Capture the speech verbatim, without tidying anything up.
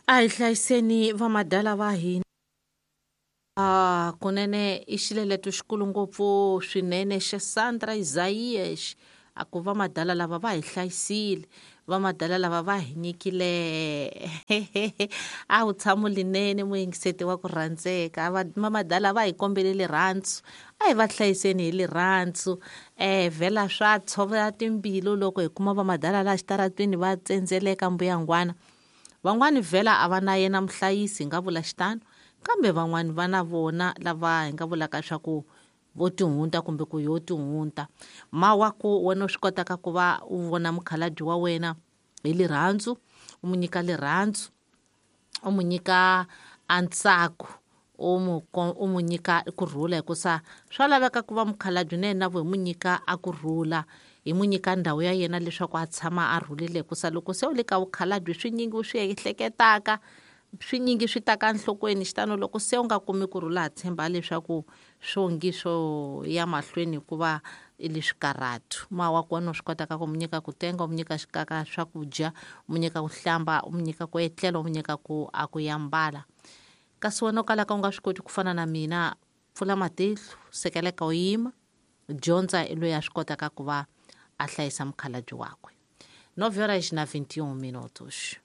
A hi hlayiseni vamadala va hina. Ah, kunene i xileleto xikulu ngopfu swinene xa Sandra Isaias a ku vamadala lava va hi hlayisile, vamadala lava va hi nyikile a wu tshamo linene muyingiseti wa ku rhandzeka. Vamadala va hi kombele rirhandzu, a hi va hlayiseni hi rirhandzu. Eh vhela swa tshovela timbilu loko hi kuma vamadala laha xitaratwini va tsendzeleka mbuyangwana. Van'wani vhela a va na yena muhlayisi hi nga vula xitano, kambe van'wani va na vona lava hi nga vulaka swa ku vo tihunta kumbe ku yo tihunta. Mawaku wena u swi kotaka ku va u vona mukhalabye wa wena hi rirhandzu, u n'wi nyika rirhandzu, u n'wi nyika a ntsako, u n'wi u n'wi nyika kurhula, hikusa swa laveka ku va mukhalabye na yena vo hi n'wi nyika a kurhula, hi n'wi nyika ndhawu ya yena leswaku a tshama a rhulile, hikusa loko se u le ka vukhalabye swinyingi u swi ehleketaka, swinyingi swi taka enhlokweni. Xitano loko se u nga kumi kurhula ha tshemba leswaku swongi swo ya mahlweni hikuva i le swikarhatu. Mawaku wena u swi kotaka ku n'wi nyika ku tenga, u n'wi nyika xikaka swakudya, u n'wi nyika ku hlamba, u n'wi nyika ku etlela, u n'wi nyika ku a ku yambala. Kasi wena u kalaka u nga swi koti ku fana na mina, pfula matihlo, sekeleka u yima, dyondza i loyi a swi kotaka ku va a hlayisa mukhalabye wakwe. Nove horas na vinte e um minutos.